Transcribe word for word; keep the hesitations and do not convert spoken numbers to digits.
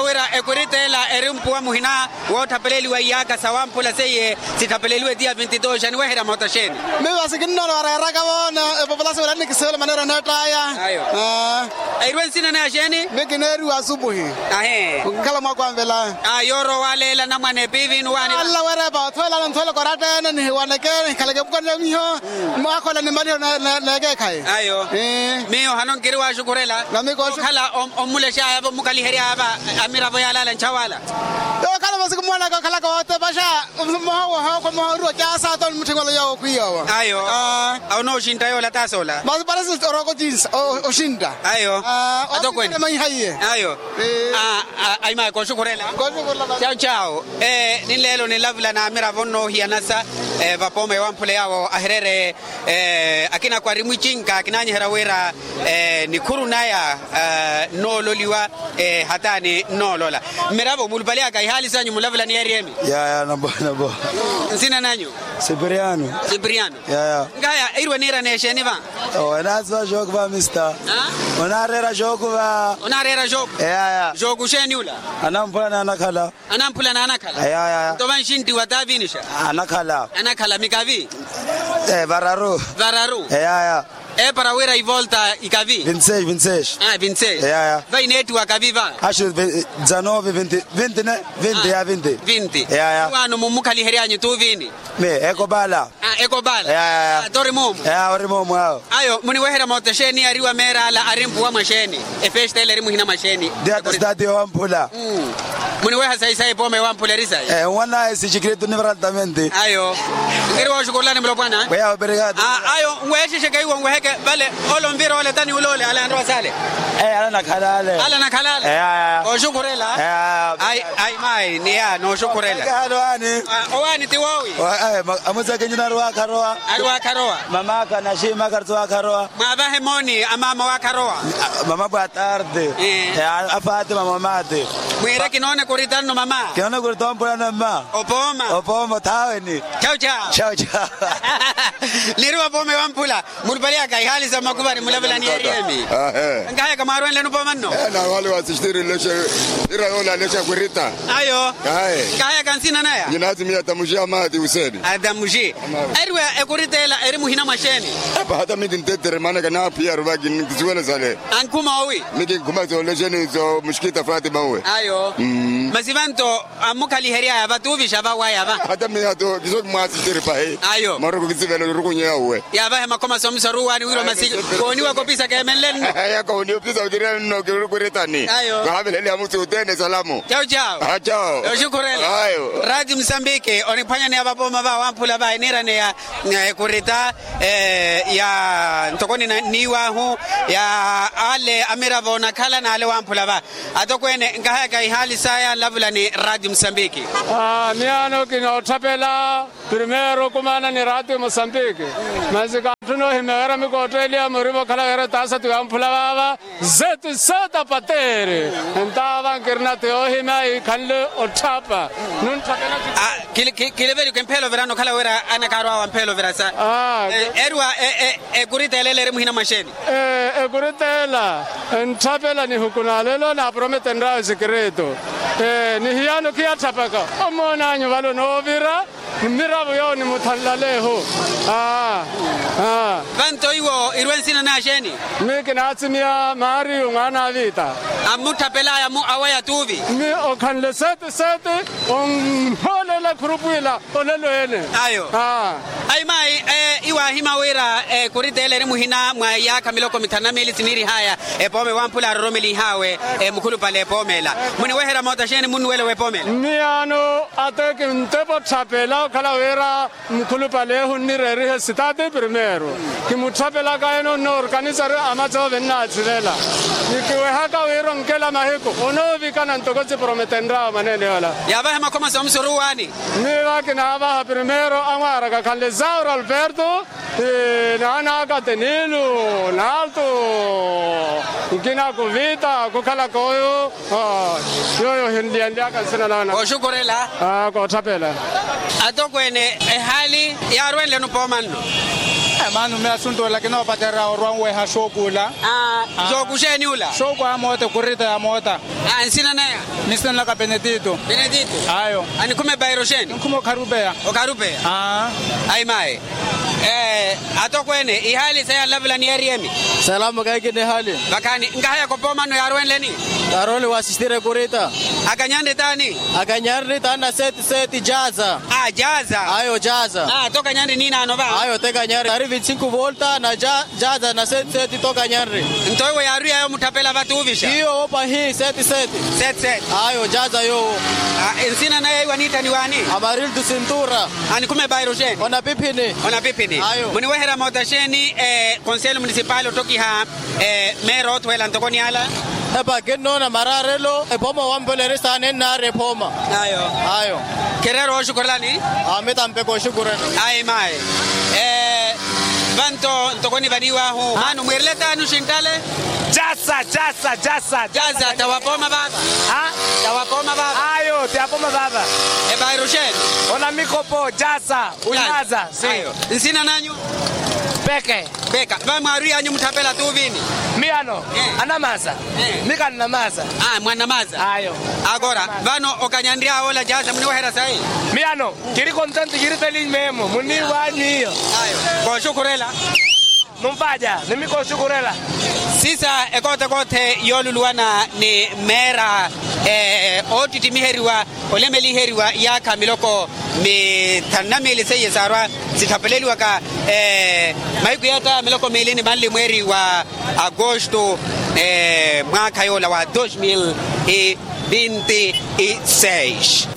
Kinoowa wira ekurita ela eri mpuwa muhina wootthapelela iyaaka sawampula seiye. Sitthapeleliwe tiya vinti dos aniweherya moota xeeni? Miyo vasi kinnoona wareeraka voona. Epopulasion wira nikisivela maneera neett'aya. Ayo. Airwe nsina naya xeeni? Miyo kineeriwa asupuhi. Ahi. Okikhala mwaku anvela. Yoorowa waleela namwane piivini waani? Alla werepa othweelana nthwele koratta ene nihiwaneke nihikhaleke epukwani ya miho. Mwakhola nimaliho neekeekhayi. Ayo. Miyo hano nkiri waxukhurela. Namikokhala. Ommulexaya va ommukaliheryaya va amiravo yalaala nchawala. Okhala masiku mwanaka okhalaka wootepaxa. Mmoha woha okho mmoha oriwa caasa ata onimutthing'ola yoowo khwiiyowa. Ayo. Onooxintta yoola taasi ola. Masi parasi orooko cinsa. Oxintta. Ayo. Atokwene. Maiha iye. Ayo. Aimaya kooxukhurela. Cawu cawu. Ninleelo ninlavula n'amiravo nnoohiyanasa. Vapooma ewamphula yaawo ahireere. Akina kwari mwicinka akinanyiherya wira nikhuru naya nnoololiwa. Hataani nnoolola mmiravo mulupali aka ihaali sanyu mulavula ni eriyemi. Yaya nambo nambo. Nsina nanyu? Sipiriano. Sipiriano. Yaya. Nkaya irwe niira neexeeni va? Onaasiva xookuva mista. Onaareera xookuva. Onaareera xookuva. Yaya. Xookuxeeni ula? Anamphula n'anakhala. Anamphula n'anakhala. Yaya. Nto vanxintti wataavinixa? Anakhala. Anakhala mikavi? Vararu. Vararu. Yaya. Epara wira ivolta ikavi? Vinti seis vinti seis. Vinti seis. Yaya. Va ineettiwa kavi va? Axu dezanove vinti vinti ne. Vinti ya vinti. Vinti. Yaya. Wano mummukhalihery'anyu tuuvini? Ekopala. Ekopala. Yaya. Tori moomu? Ori moomu awo. Ayo muniweherya moota xeeni ariwa meer'ala ari mpuwa mwaxeeni? Efesta ela eri muhina mwaxeeni? Diya ta sitati yowamphula. Muniweha sayi sayi epooma ewamphula eri sayi? Nwana esi xikritu nivaraltamenti. Ayo. Nkiri wooxukurulani mulopwana. Ayo nweexexeke iwo nweheke vale. Ole onvira ole tani ule ole ale anrowa sale. Ala anakhala ale. Ala anakhala ale. Oxukhurela. Ai mayi niya nooxukhurela. Owaani ti woowi? Amusakinyi naari waakharowa. Ari waakharowa. Mamaka naxiimaka ari waakharowa. Mwaavahe mooni a maama waakharowa. Mama bwa tarde. Afatima mamati. Mwiire kinoona ekurita nno mama. Kinoona ekurita ompulano mma. Opooma. Opooma othaweni. Chawu chawu. Chawu chawu. Niiri wapooma ewamphula. Mulupali aka ihaali sa mmakuva ni mulavela ni eriyemi. Nkahayaka mwaarwenleni opooma nno. Nawaali wasixtiri nlexe. Ira yoola alexa kurita. Ayo. Nkahayaka nsina naya? Nyinaatimiya tamuxi amaati useni. Atamuxi. Eriwa ekurita ela eri muhina mwaxeeni? Epa hata miti ntettere maana kanaaphiya aruvaki nkisiwela sale. Ankhuma owi? Miti nkhuma soolexeni so muxikita fatima uwe. Ayo. Masi vanto ammukhaliheryaya vatuuvixa vawaya va? Hata mihato kiso kimwaasitiri pahi. Ayo. Maroko kisivela orukunyeya uwe. Yaavahe makhoma somiso aruwaani wirwa masi. Kooniwa kopisa keemenlenno. Yakooniwa opisa otirenno kirukuritani. Ayo. Kahaveleliha musi utene salamu. Chawu chawu. Chawu. Oxukhurela. Ayo. Rati musambiki oniphwanyaneya vapooma va wamphula va eniiraneya ekurita ya ntoko niniiwahu ya ale amiravo onakhala n'ale wamphula va. Atokweene nkahayaka ihaali saya nlavula ni rati musambiki. Miyaano kinootthapela primeiro okumaana ni rati musambiki. Masi kaatthuna ohimya wira mikootteeliya murivo okhala wira etaasatu yamphula vaava. Zeti seta pateeri. Entaava nkirina ti yoohimya iikhanle otthapa. Nuntthakelaki. Kiliveri kimphela ovirana okhala wira anakaarwaawa mphela ovirasa. Eriwa ekurita ela ela eri muhina mwaxeeni? Ekurita ela entthapela nihuku na lelo naaprometenryawe sikritu. Ni hiyano khiyatthapaka. Omoonanyu vale onoovira. Mmiravo yoowo nimuthanlaleehu. Vanto iwo irwe nsina naya xeeni? Mmi kinaatsimiya maariyu mwaana a vita. Ammutthapelaya aweya tuuvi. Mmi okhanle seti seti onhoolela khurupu ila. Olelo ene. Ayo. Ayi mayi iwaahima wira ekurita ela eri muhina mwa iyaakha miloko mithanu na miili siniirihaya epooma ewamphula aaroromelihaawe. Mukhulupale epooma ela muniweherya moota xeeni munnuwela w'epooma ela? Mmiyaano ate kintepa otthapela okhala wira mukhulupalehu nnireerihe sitati primeiro. Kimutthapelaka ene onnoorkanisari amatsoove nnaatsivela. Nikiwehaka wira onkela mahiku onoovikana ntoko siprometenryawe mwaneene yoola. Yaavahe makhoma somiso oruwaani? Mmi vakinaavaha primeiro amwaaraka khanle zauro alberto. Naanaka tenilu naalto. Nkina kuvita kukhalaka oyo. Yooyo ohinliyanlyaka nsina naana. Kooxukhurela. Kootthapela. Atokweene ehaali yaarwenleni opooma nno? Maana mmi asuntu ola kinoopacerya orwa onweha xooku ula. Xooku xeeni ula? Xooku a moota ekurita ya moota. Nsina naya? Mmi nsina nlaka benedito. Benedito. Ayo. Anikhuma ebairo xeeni? Anikhuma okharupeya. Okharupeya. Ayi mayi. Atokweene, ihaali seya nlavula ni eriyemi. Salamo kaikini ehaali. Vakhaani nkahaya kopoomano yaaruwenleni. Karoli wasistire kurita. Akanyanri taani? Akanyanri taani na seti seti jaza. Ayo jaza. Ayo te kanyanri niinaano va? Ayo te kanyanri ari vinti sinku volta na jaza na seti seti to kanyanri. Nto iwo yaaruya yoomuttapela va tuuvixa? Iyo opa hi seti seti. Seti seti. Ayo jaza yoowo. Nsina naye iwo aniittaniwaani? Amarildo sintura. Anikhume bairo xeeni? Onapiphini. Onapiphini. Ayo muniweherya moota xeeni? Konselo munisipali ottokiha meera oothuwela ntoko ni ala. Epa kinnoona maraarelo ephoma wampolerisaani ennaari ephoma. Ayo. Ayo. Khireera ooxukurelani? Aami tampeka oxukurela. Ayi mayi. Vanto ntoko nivaniwaahu maano mwiirele taani oxinttale? Jasa jasa jasa. Jasa tawapooma vaava. Tawapooma vaava. Ayo tawapooma vaava. Epairo xeeni? Onamikopo jasa. Unyaza si. Nsina nanyu? Peke. Peka vamwaarwiyanyu mutthapela tuuvini? Miyano. Anamaza. Mika nnamaza. Mwanamaza. Ayo. Akora vano okanyanry'awe ola jaza muniweherya sayi? Miyano kiri kontenti kiri feliz meemo muniiwaanyu iyo. Kooxukhurela. Numpaja ni mikoxukhurela. Sisa ekoothe koothe yooluluwana ni meera oottittimiheryiwa olemeliheriwa iyaakha miloko mithanu na miili seiye saarwa sitthapeleliwaka mahiku yatta miloko miili ni manli mweeri wa agosto mwaakha yoola wa dos mil e vinti e seis.